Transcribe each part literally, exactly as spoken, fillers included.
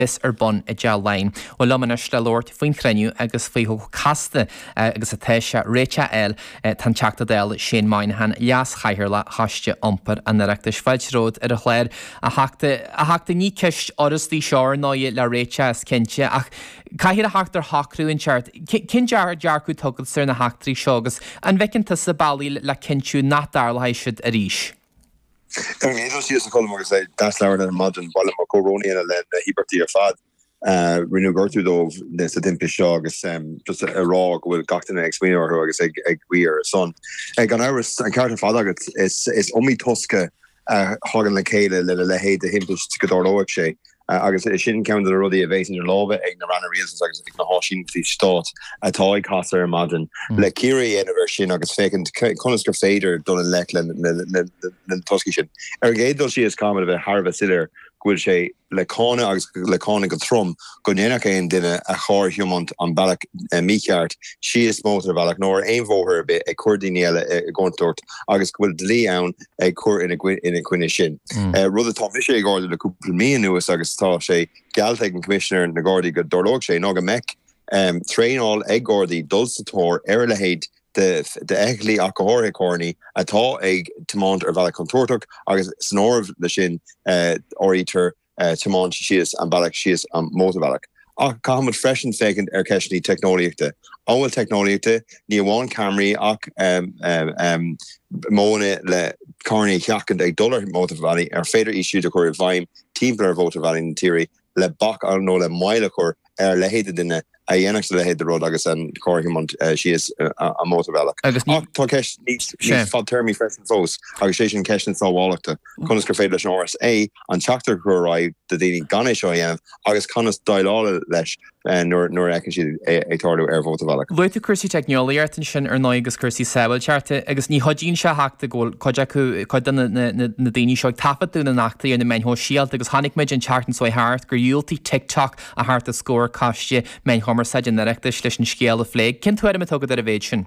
bheas ar bun i dTeach Laighean. Bhuel liom anois le labhairt faoin chruinniú agus faoi chomh casta agus atá sé réiteach a fháil tá an Teachta Dála Shane Moynihan, Leas-Chathaoirleach Choiste Iompair an Oireachtais. Fáilte romhat ar an chlár a Theachta. A Theachta ní ceist fhurasta í seo ar ndóigh le réiteach is cinnte ach caithfear a theacht ar shocrú inteacht. Cén dearcadh atá agatsa ar na heachtraí seo agus an bhfeiceann tusa bealaí le cinntiú nach dtarlóidh siad arís? Ar an gcéad dul síos a Cholm agus é deas labhairt ar maidin ba mhaith liom mo chomhbhrón a dhéanamh le na híobartaigh ar fad a rinneadh gortú dóibh sa timpiste seo agus just a rá go bhfuil gach duine ag smaoineamh orthu agus ag ag guí ar a son. Gan amhras an ceart ar fad agat is is iomaí tosca a thagann le chéile lena leithéid de thimpist go dtarlóidh sé. Agus sin ceann de na rudaí a bheas idir lámha ag na ranna rialtais agus ag na háisíneachtaí stáit atá ag casadh ar maidin le cíoradh a dhéanamh air sin agus féachaint conas gur féidir dul i ngleic le na toscaí sin. Ar an gcéad dul síos, caithfimid a bheith thar a bheith soiléir go bhfuil sé le cáineadh agus le cáineadh go trom go ndéanfadh aon duine a charr a thiomáint an bealach mícheart síos mótarbhealach nó ar aon bhóthar ar bith ag cur daoine eile i gcontúirt agus go bhfuil dlí ann ag cur ina coinne sin. Rud atá mise ag ardú le cúpla mí anuas agus tá sé geallta ag an Coimisinéir na Gardaí go dtarlóidh sé ná go mbeidh traenáil ag Gardaí dul sa tóir ar a leithéid de d'fheithiclí ach go háirithe carrannaí atá ag tiomáint ar bhealach contúirteach agus san áireamh leis sin áirítear tiomáint síos an bealach síos an mótarbhealach. Ach caithfimid freisin féachaint ar cheisteanna teicneolaíochta. An bhfuil teicneolaíochta, ní amháin ceamaraí ach modhanna le carrannaí a sheachaint ag dul ar mhótarbhealaí, ar féidir iad siúd a chur i bhfeidhm timpeall ar mhótarbhealaí na tíre le bac nó le moill a chur ar a leithéid de dhuine a dhéanfadh a leithéid de rud agus an carr a thiomáint síos an mótarbhealach. Agus ní. Ach tá ceist níos fadtéarmaí freisin fós agus sé sin ceist na sábháilteachta, conas gur féidir leis an RSA an teachtaireacht a chur ar aghaidh do dhaoine gan é seo a dhéanamh agus conas déileáil leis nuair a fheiceann siad é ag tarlú ar mhótarbhealach. Luaigh tú cúrsaí teicneolaíochta ansin ar ndóigh agus cúrsaí sábháilteachta agus ní chuidíonn sé a Theachta go bhfuil cuid acu, cuid de na daoine seo ag taifeadadh na n-eachtraí ar na meáin shóisialta agus chonaic muid an tseachtain seo thart gur dhiúltaigh TikTok a theacht os comhair Coiste Meán Chumarsáide an Oireachtais leis an scéal a phlé. Cén tuairim atá agat ar an mhéid sin?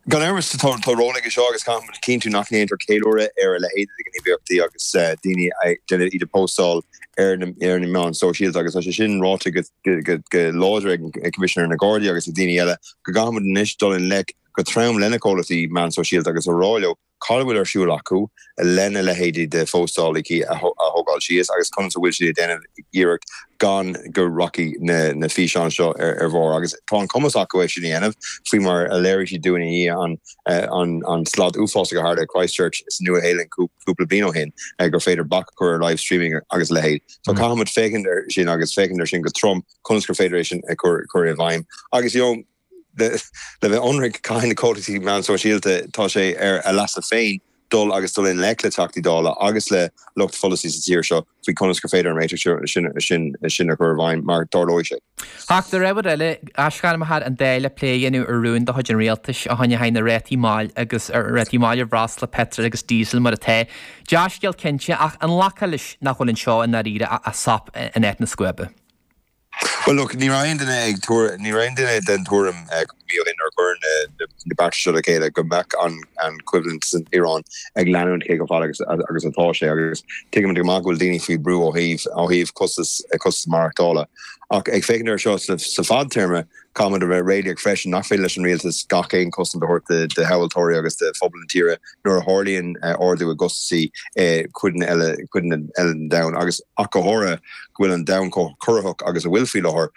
Gan amhras, tá ról aige seo agus caithfimid a chinntiú nach ndéantar ceiliúradh ar a leithéid de ghníomhaíochtaí agus daoine ag déanamh iad a phóstáil ar na meáin sóisialta agus tá sé sin ráite go láidir ag Coimisinéir na Gardaí agus ag daoine eile go gcaithfimid anois dul i ngleic go trom lena comhlachtaí meán sóisialta agus a rá leo cad a bhfuil ar siúl acu lena leithéidí de phóstálacha a thógáil síos agus conas a bhfuil siad ag déanamh iarracht gan go rachaidh na físeáin seo ar bharr. Agus tá an cumas acu é sin a dhéanamh, faoi mar a léirigh siad dúinn i ndiaidh an slad uafásach a tharla i Christchurch sa Nua-Shéalainn cúpla bliain ó shin, gur féidir bac a chur ar live streaming agus a leithéid. So caithfimid féachaint air sin agus féachaint air sin go trom conas gur féidir é sin a chur i bhfeidhm. Agus you know, le bheith ionraic, caithfidh na comhlachtaí meán sóisialta, tá sé ar a leasa féin dul agus dul i ngleic le Teachtaí Dála agus le lucht pholasaí sa tír seo faoi conas gur féidir an réiteach sin sin a chur i bhfeidhm mar tarlóidh sé. Ach ar ábhar eile, aisghairmthear an Dáil le plé a dhéanamh ar rún de chuid an Rialtais a choinneoidh na rátaí máil agus rátaí máil ar bhreosla, peitreal agus díosal mar atá. Dea-scéal cinnte, ach an nglacfá leis nach bhfuil anseo i ndáiríre ach sop in áit na scuaibe? Bhuel, look, ní raibh aon duine ag tuar, ní raibh aon duine den tuairim cúpla mí ó shin nuair a cuireadh na bearta seo le chéile go mbeadh an an choimhlint san Iaráin ag leanúint cé chomh fada agus agus atá sé agus tuigimid go maith go bhfuil daoine faoi bhrú ó thaobh ó thaobh costas costas maireachtála. Ach ag féachaint air seo sa sa fadtéarma, Caithfimid a bheith réalaíoch freisin nach féidir leis an rialtas gach aon chosaint a thabhairt do thomhaltóirí agus do phobal na tíre nuair a tharlaíonn ardú i gcostasaí i gcodanna eile eile den domhan agus ach go háirithe go bhfuil an domhan chomh corraitheach agus a bhfuil faoi láthair,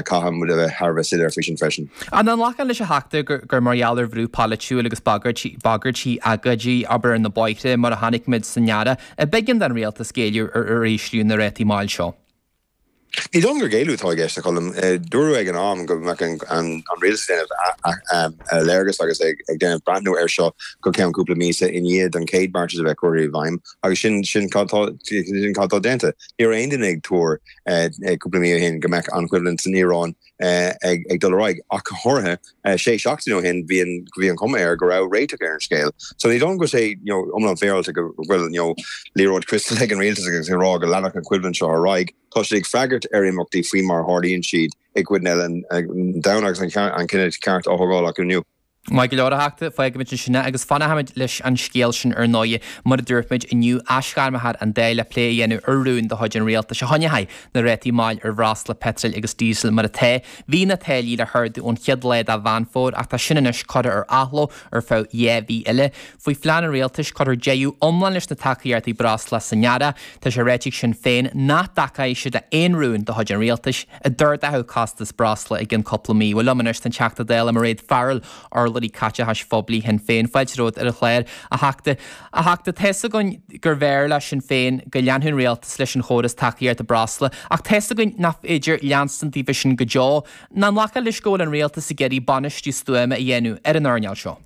caithfimid a bheith thar a bheith soiléir faoi sin freisin. An nglacfá leis a Theachta gur mar gheall ar bhrú polaitiúil agus bagairtí, bagairtí agóidí, abair ar na bóithre mar a chonaic muid san earrach, a b'éigean don rialtas géilleadh ar ísliú na rátaí máil seo? Ní dóigh liom gur géilleadh atá i gceist, a Cholm. Dúradh ag an am go mbeadh an rialtas ag déanamh léargas agus ag déanamh breathnú air seo go ceann cúpla míosa i ndiaidh don chéad beartas a bheith curtha i bhfeidhm agus sin sin cad sin cad tá déanta. Ní raibh aon duine ag tuar cúpla mí ó shin go mbeadh an choimhlint san Iaráin ag dul ar aghaidh ach go háirithe sé seachtaine ó shin bhí an bhí an chuma air go raibh réiteach ar an scéal. So ní dóigh liom go bhfuil sé you know iomlán féaráilte go bhfuil you know liathróid criostail ag an rialtas agus ag rá go leanfadh an choimhlint seo ar aghaidh. Tá siad ag freagairt ar imeachtaí faoi mar a tharlaíonn siad i gcodanna eile den domhan agus an cinneadh ceart á thógáil acu inniu. Maith go leor, a Theachta, fágfaimid ansin é agus fanfaimid leis an scéal sin ar ndóigh. Mar a dúirt muid inniu, aisghairmfear an Dáil le plé a dhéanamh ar rún de chuid an Rialtais a choinneoidh na rátaí máil ar bhreosla, peitril agus díosal mar atá. Bhí na táillí le hardú ón chéad lá de Mheán Fómhair ach tá sin anois curtha ar athló ar feadh dhá mhí eile. Faoi phlean an Rialtais, cuirfear deireadh iomlán leis na tacaíochtaí breosla san earrach. Tá sé ráite ag Sinn Féin nach dtacóidh siad le haon rún de chuid an Rialtais a d'ardódh costas breosla i gcionn cúpla mí. Bhuel liom anois tá an Teachta Dála Mairéad Farrell, urlabhraí caiteachais phoiblí Shinn Féin. Fáilte romhat ar an chlár, a Theachta. A Theachta, tá's againn gurbh fhearr le Sinn Féin go leanfadh an Rialtas leis an chóras tacaíochta breosla, ach tá's againn nach féidir leanstan daofa sin go deo. Nach nglacfá leis go bhfuil an Rialtas ag iarraidh bainistiú stuama a dhéanamh ar an earnáil seo?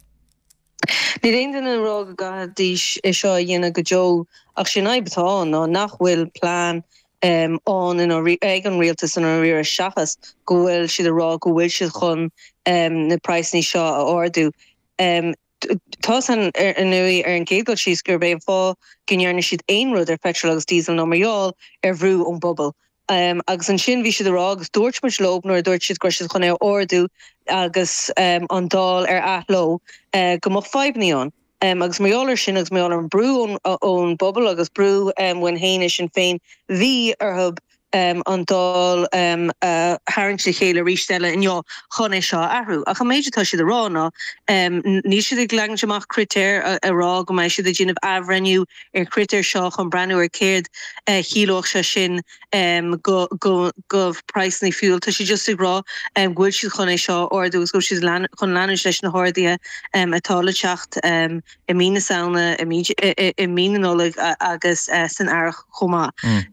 Níl aon duine ag rá go gcaithfidís é seo a dhéanamh go deo ach sé an fhadhb atá ann ná nach bhfuil plean ann ag an rialtas i ndáiríre seachas go bhfuil siad ag rá go bhfuil siad chun na praghsanna seo a ardú. Tá's againn ar ndóigh ar an gcéad dul síos gurb é an fáth go ndearna siad aon rud ar pheitreal agus díosal ná mar gheall ar bhrú ón bpobal. Agus ansin bhí siad ag rá, agus dúirt muid leo nuair a dúirt siad go raibh siad chun é a ardú agus an Dáil ar athló, go mbeadh fadhbanna ann. Agus mar gheall air sin agus mar gheall ar an brú ón bpobal agus brú uainn féin i Sinn Féin, bhí orthu an Dáil a tharraingt le chéile arís eile inniu chun é seo a athrú. Ach an méid atá siad a rá ná, níl siad ag leagaint amach critéir a rá go mbeidh siad ag déanamh athbhreithniú ar chritéir seo chun breathnú ar céard a chiallódh sé sin go go praghsanna fuel. Tá siad just ag rá go bhfuil siad chun é seo a ardú agus go bhfuil siad chun leanúint leis na harduithe atá le teacht i mí na Samhna, i mí na Nollag agus san earrach chomh maith.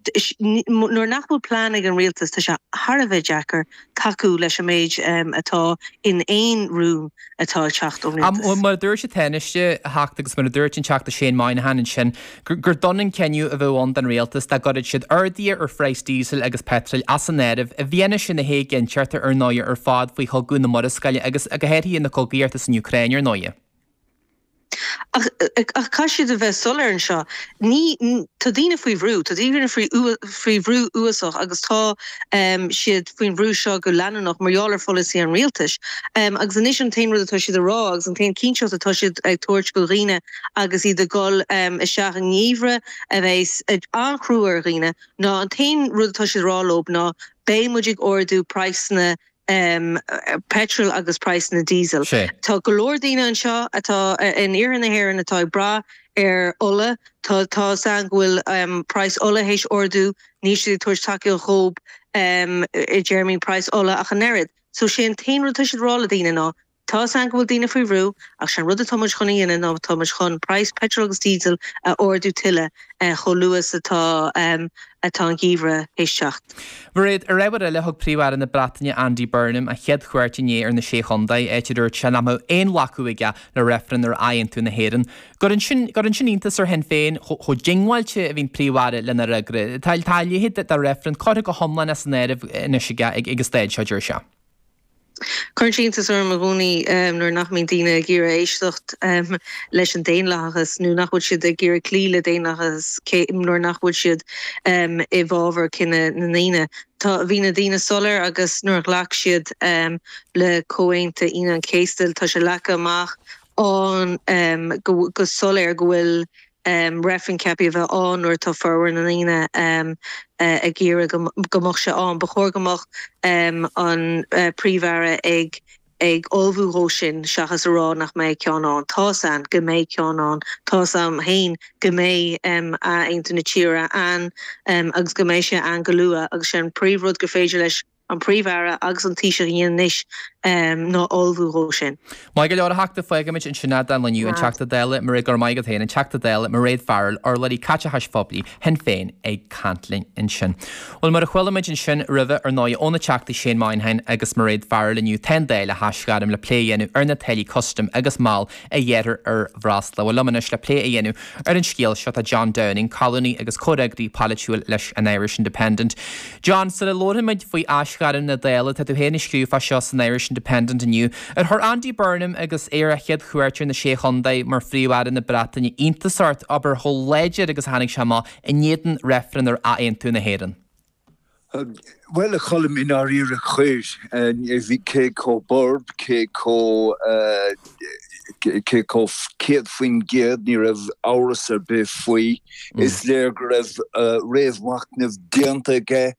Nuair nach bhfuil plean ag an rialtas, tá sé thar a bheith deacair tacú leis an méid atá in aon rún atá ag teacht ón rialtas. Mar a dúirt an Tánaiste, a Theachta, agus mar a dúirt an Teachta Shane Moynihan ansin, gur dona an cinneadh a bheadh ann don rialtas dá gcuirfeadh siad arduithe ar phraghas díosail agus peitril as an áireamh, i bhfianaise na héiginnteachta ar ndóigh ar fad faoi chogadh na Murascaille agus go háirithe na cogaíochta san Úcráin ar ndóigh. Ach caithfidh siad a bheith soiléir anseo. Ní, tá daoine faoi bhrú, tá daoine faoi faoi bhrú uafásach agus tá siad faoin bhrú seo go leanúnach mar gheall ar pholasaí an rialtais. Agus anois an t-aon rud atá siad a rá agus an t-aon chinnteacht atá siad ag tabhairt do dhaoine agus iad ag dul isteach i ngeimhreadh a bheas an-chrua ar dhaoine ná an t-aon rud atá siad a rá leo ná beidh muid ag ardú praghsanna peitril agus praghsanna díosail. Tá go leor daoine anseo atá in iarthar na hÉireann atá ag brath ar ola. Tá tá's againn go bhfuil praghas ola théis ardú, níl siad ag tabhairt tacaíocht dhób i dtéarmaí praghas ola ach an oiread. So sé an t-aon rud atá siad ag rá le daoine ná tá's againn go bhfuil daoine faoi bhrú ach sé an rud atá muid chun a dhéanamh ná tá muid chun praghas peitril agus díosail a ardú tuilleadh chomh luath is atá atá an geimhreadh théis teacht. Mairéad, ar ábhar eile, thug Príomh-Aire na Breataine Andy Burnham a chéad chuairt inné ar na Sé Chontae, áit a dúirt sé nach mbeadh aon ghlacadh aige le reifreann ar athaontú na hÉireann. Cuireann sin cuireann sin iontas ar Shinn Féin chomh diongbháilte a bhíonn Príomh-Aire lena fhreagra. Tá a leithéid de reifreann curtha go hiomlán as an áireamh anois aige ag an staid seo, deir sé. Cuireann sé iontas orm i gcónaí nuair nach mbíonn daoine ag iarraidh éisteacht leis an daonlathachas nó nach bhfuil siad ag iarraidh cloí le daonlathachas nuair nach bhfuil siad i bhfabhar cinneadh na ndaoine. Tá, bhí na daoine soiléir agus nuair a ghlac siad le Comhaontú Aoine an Chéasta tá sé leagtha amach ann go soiléir go bhfuil reifreann ceaptha a bheith ann nuair atá formhór na ndaoine ag iarraidh go mbeadh sé ann. Ba chóir go mbeadh an Príomh-Aire ag ag ullmhú dhó sin seachas a rá nach mbeidh ceann ann. Tá's a'inn go mbeidh ceann ann. Tá's a'm féin go mbeidh athaontú na tíre ann agus go mbeidh sé ann go luath agus sé an príomhrud gur féidir leis an Príomh-Aire agus an Taoiseach a dhéanamh anois ná ullmhú dhó sin. Maith go leor, a Theachta, fágfaimid ansin é don lá inniu, an Teachta Dála Mairéad, go raibh maith agat féin, an Teachta Dála Mairéad Farrell, urlabhraí caiteachais phoiblí Shinn Féin ag caint linn ansin. Bhuel, mar a chuala muid ansin roimhe, ar ndóigh, ó na Teachtaí Shane Moynihan agus Mairéad Farrell inniu, tá an Dáil á haisghairm le plé a dhéanamh ar na táillí custaim agus máil a ghearrthar ar bhreosla. Bhuel, liom anois le plé a dhéanamh ar an scéal seo tá John Downing, colúnaí agus comhfhreagraí polaitiúil leis an Irish Independent. John, sula labharfaimid faoi aisghairm na Dála, tá tú féin ag scríobh fá seo san Irish Independent inniu. Ar chuir Andy Burnham agus é ar a chéad chuairt ar na Sé Chontae mar Phríomh-Aire na Breataine iontas ort, abair, chomh láidir agus a tháinig sé amach in éadan reifreann ar athaontú na hÉireann? Bhuel, a Choilm, i ndáiríre chuir, bhí cé chomh borb, cé chomh cé chomh céad faoin gcéad, ní raibh amhras ar bith faoi. Is léir go raibh réamh-mhachnamh déanta aige.